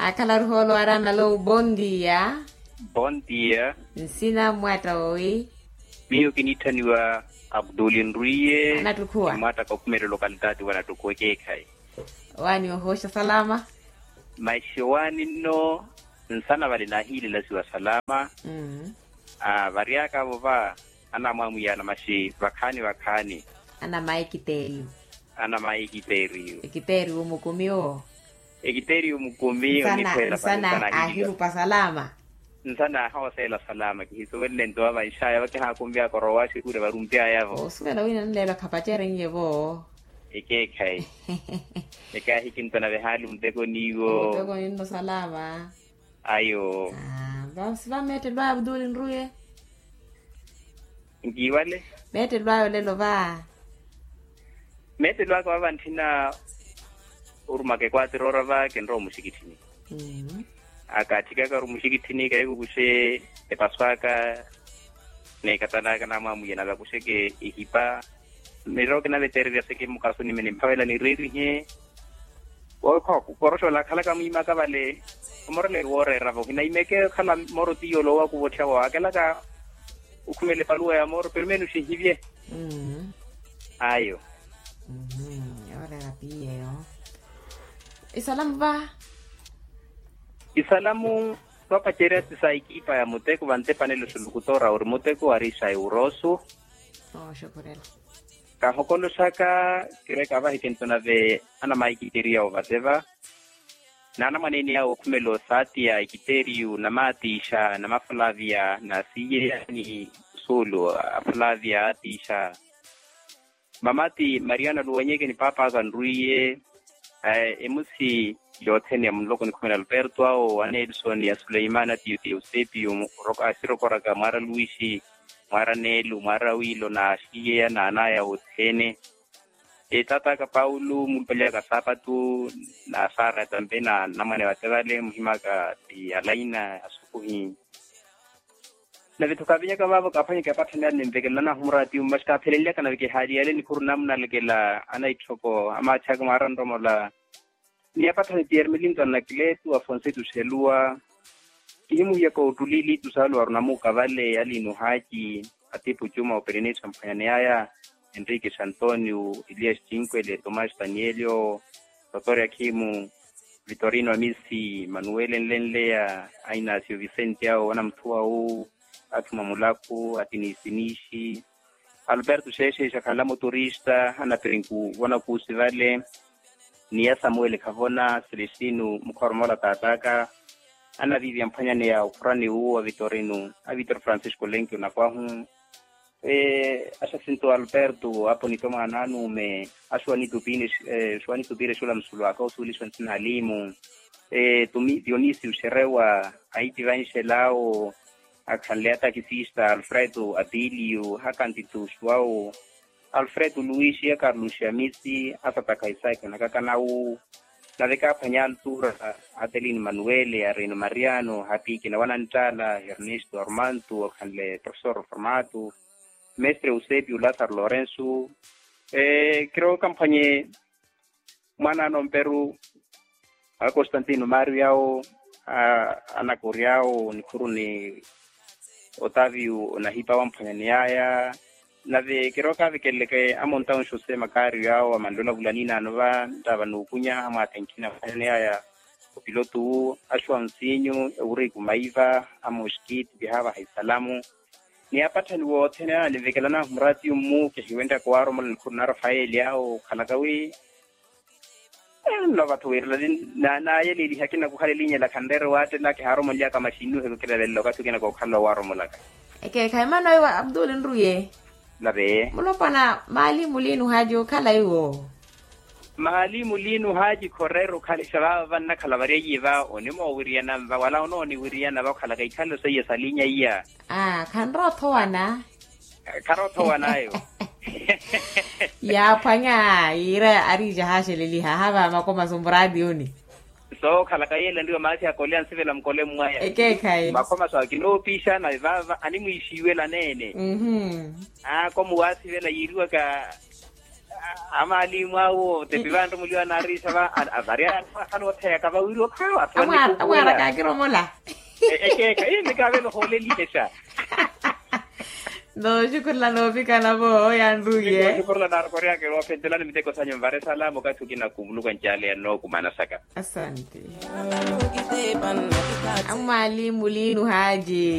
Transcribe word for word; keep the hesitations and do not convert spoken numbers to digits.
Akhala ruhoolo ari analowu bondia. Bondia. Nsina mmwatta wowi? Miyo kiniitthaniwa abduli nrwiye. Anattukhuwa mmwatta ka okhumelela okalitaati wanattukhuwa ekeekhayi. Owaani ohooxa salama. Maxi owaani nno nsana vale naahiilelasiwa salama. Varyaka vo va anamwamwiyana maxi vakhaani vakhaani. Anamaikiteriyu. Anamaikiteriyu. Ekiteriyu mukumi wo. Ekiteriyu mukumi oniphwela nsana ahirupa salama. Nsana ahooseela salama kihisuwelele nto avanxaya vakihaakumbyaka orowa xikure varumbyayavo. Osuwela wina nleelo khapacerenye vo. Ekeekhayi. Ekaahikinto nave haali muteko niiwo. Muteko ninno salama. Ayo. Vasi va meettelo ayo vutuli nruye. Nkiiwale. Meettelo ayo lelo va. Meettelo aka vava ntthina orumaka ekwaatiro ora va kinrowa omuxikitthini. Akaatthikaka ori omuxikitthini kaikukuxe epaso aka. Neekatalaka namwamwiya nave akuxeke ehipa. Mirowa kinaveteererya seke mukasuni mene mphavela nireerihe. Koroxola akhalaka mwiimaka vale. Omoreleke wooreeravo kinaimeke okhala moro tiyo oloowa kuvotthiya waakelaka. Okhumela epaluwa ya moro pero menuxinhivye. Ayo. Yooreera piyeyo. Isalamu va. Isalamu. Twapacerya ti sa ekipa ya muteko vantepanelo xulukutora ori muteko ari xa eurosu. Kaahokoloxaka kireka avahi kinto nave anamaikiteriya ovate va. Naanamwaneeni awo okhumela osaatiya ekiteriyu namatixa namafulavia nasiyeya ni sulu afulavia atixa. Mamati mariana luwenyeke ni paapaka nrwiye. Emusi yothene ya munloko nikhumela alberto awo anelisoni ya suleimani atiyo ti eusepio. Asirokoraka mwaara luwixi mwaara neelo mwaara wiilo na axiyeya na anaya othene. Etataka paulo mulupaliyaka saapatu na sara tampe na namwane vate vale muhimaka ti alaina asukuhi. Nave-tho kaavinyaka vaavo kaaphwanyeke apatthani ale nimvekelela nahumura atimu maxi kaapheleliyaka nave kihaali yale nikhuru namunalekela ana itthoko amaathi aka mwaara nromola. Ni apatthani ti ermelinto anakletu afonsetu xeluwa. Kihimuhiyaka ottuli litu saluwaru namuka vale alinuhaci atipu cuma operenesi amphwanyani aya. Enrique xantonio elias cinkwele tomás danielio. Totoria khimu vitorino amisi manuele nlenleya. Ainasio vicente awo anamuthuwa wu athuma mulakhu atinisinixi. Alberto xeexeexa khanla muturista anapirinku vona kuusi vale. Ni ya samuel khavona celestino mukhoromola taataka. Anaviivi amphwanyani ya okhurani wu a vitorino a vitor francisco lenki onakwahu. Axasinto alberto aponito mwaana anuume axuwanitupire xula musulu aka osuwelixiwa ntsina alimu. Dionisio xerewa aitivanxela awo akhanle atakisista alfredo atilio akantituxu awo alfredo luwixi akarluxi amisi asatakha isaki anakakanawu. Nave kaaphwanya altura atelini manuele arino mariano hapikina wananttala ernesto armanto akhanle professor formato mestre eusepio lazaro lorenso. Kirowo kamphwanye mwaana anomperu a constantino mario yawo anakori yawo nikhuru ni otavio onahipa wamphwanyani yaya. Nave kirowo kaavekeleleke amontaun josé makario yawo amanlola vulaninaano va nttava nuukunya amwaathenkhina mphwanyani yaya opilotu wu axuwa nsinyu ewuriku maiva amoxkiti kihaavaha isalamu. Ni apatthani wothene ananivekela nahumura atimu kihiwenttaka owaromola nikhuru na rafaeli awo okhalaka wi nno vatthu wiirela nayeleliha kinakukhale linyela khanreere waattela kihaaromoliyaka maxinnuheko kilavelela okathi okina kookhalala owaaromolaka. Ekeekhayi mano iwe abdul nruye. Lave. Mulopwana maalimu liinu haaji okhala iwo. Maalimu liinu haaji khoreera okhalixa vaava vannakhala varyayiye va onimoowiriyana nva wala onooniwiriyana va okhalaka ikhalelo seiya salinya iya. Aa khanrowa othowana. Kharowa othowan'ayo. Yaaphwanya yiira ariija haaxeleliha hava makomaso muraatiyoni. Sookhalaka yeela nriwa maathi akole ansivela mukole mwaya. Ekeekhayi makomaso akinoopixa nave vaava animwiixiwela neene. Aako muwaasivela yiiriwaka Amaalimu awo tepi vantu muliwa naariisa va. Vari anoottheyaka vawiri okhawa. Amwaara kaakiromola. Ekeekha iye mikaavela ohoolelihexa. Nooxukhurela noovikana vo yanruye. Nooxukhurela naarokoryaka eroophentela ni miteko sanyu nvare salaamu okathi okina kumuluka ncaale ya nnookumana saka. Asante. Amwaali muliinu haaji.